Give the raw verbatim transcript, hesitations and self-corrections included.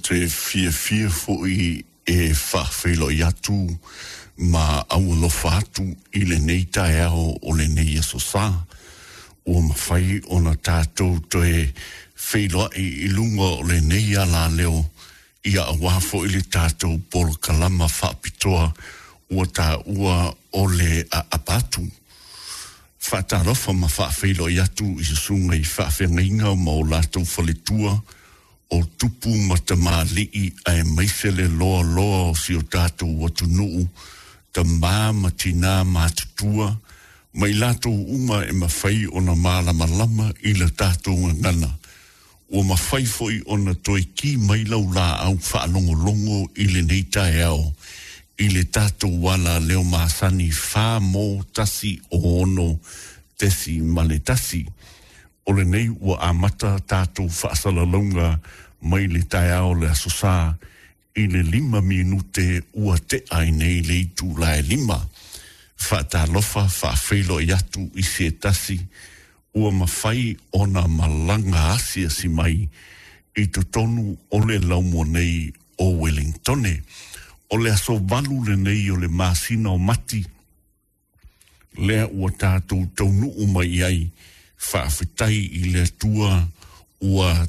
te fiafia foʻi e faafeiloai atu ma aualofa atu i lenei taeao o lenei aso sā ua mafai ona tatou toe feiloai i luga o lenei alaleo ia auā foʻi le tatou polokalama faapitoa ua taua o le aapa atu. Faatalofa ma faafeiloai atu i susuga i faafeagaiga ma o latou faletua o tupu ma tamalii aemaise le loaloa o si o tatou atunuu, tamā ma tinā matutua, ma i latou uma e mafai ona malamalama i la tatou gagana, ua mafai foi ona toe ki mai lau laau faalogologo i lenei taeao i le tatou ala leo masani fa mo tasi o ono tesi ma le tasi. O lenei ua amata tatou faasalalauga mai le taeao o le Aso Sa i le lima minute ua tea ai nei le itula e lima. Faatalofa faafeiloai atu i se tasi ua mafai ona malaga asiasi mai i totonu o le laumua nei o Wellingtone. O le aso valu lenei o le masina o Mati, lea ua tatou taunuu mai ai, faafetai i le Atua ua